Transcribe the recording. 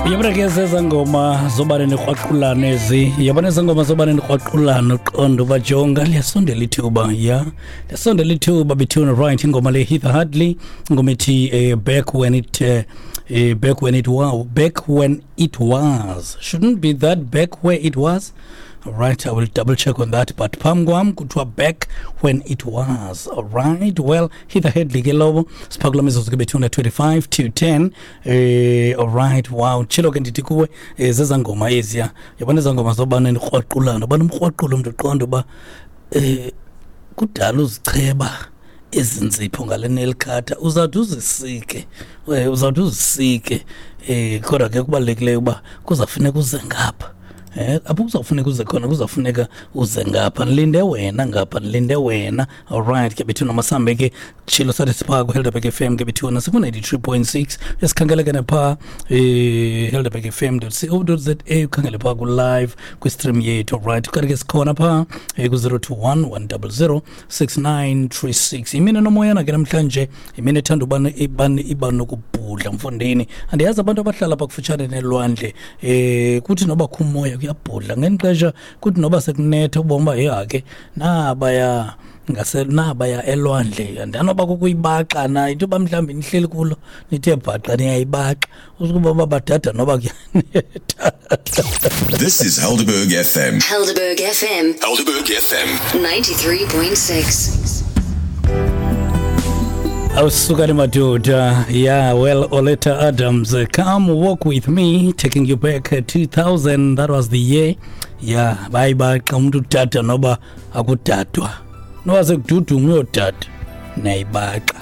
Yabona ke zeza ngoma zobane nikrwaqulana ezi. Yabona eza ngoma zobane nikrwaqulana, uqonda uba jonga liyasondela ithuba, ya, liyasondela ithuba bethuna. Right, ingoma le Heather Hadley, ingoma ethi back when it back when it was, back when it was, shouldn't be that back where it was. All right, I will double check on that, but phambi kwam kuthiwa back when it was. All right, well, Heather Hadley ke lowo. Siphakula mizuzu ke bethuna 25 to 10. All right, wow, tshilo ke ndithi kuwe, zeza ngoma eziya. Yabona eza ngoma zobana nikrwaqulana, ubana umkrwaqula umntu, uqonda uba kudala uzicheba ezinzipho ngale nail cutter, uzawuthi uzisike, uzawuthi uzisike, kodwa ke kubalulekileyo uba kuzawufuneka uze ngapha, apho kuzawufuneka uze khona, kuzawufuneka uze ngapha, ndilinde wena ngapha, ndilinde wena. Alright ke bethuna, masambe ke. Tshilo sathi siphaa kuHelderberg FM ke bethuna, siku-93.6. Uyasikhangeleke naphaa helderbergfm.co.za, ukhangele phaa ku-live kwi-stream yethu. Alright, kanti ke sikhona phaa ku-021 100 6936. Imini nomoyana ke namhlanje, imini ethanda ubana iba nokubhudla mfondini. Andiyazi abantu abahlala apha kufutshane nelwandle, kuthi noba kho umoya kuyabhudla ngeli xesha, kuthi noba sekunetha ubona uba yehake nabaya ngase nabaya elwandle. Andanoba kukuyibaxa na into yoba mhlawumbi nihleli kulo nithe bhaqa niyayibaxa, usukuba uba badada noba kuyanetha. This is Helderberg FM. Helderberg FM. Helderberg FM. 93.6. Awusukani madoda. Yeah, well, Oleta Adams, Come Walk With Me, taking you back 2000. That was the year. Yeah, bayibaxa umuntu udada noba akudadwa. Noba sekududuma uyodada. Nayibaxa.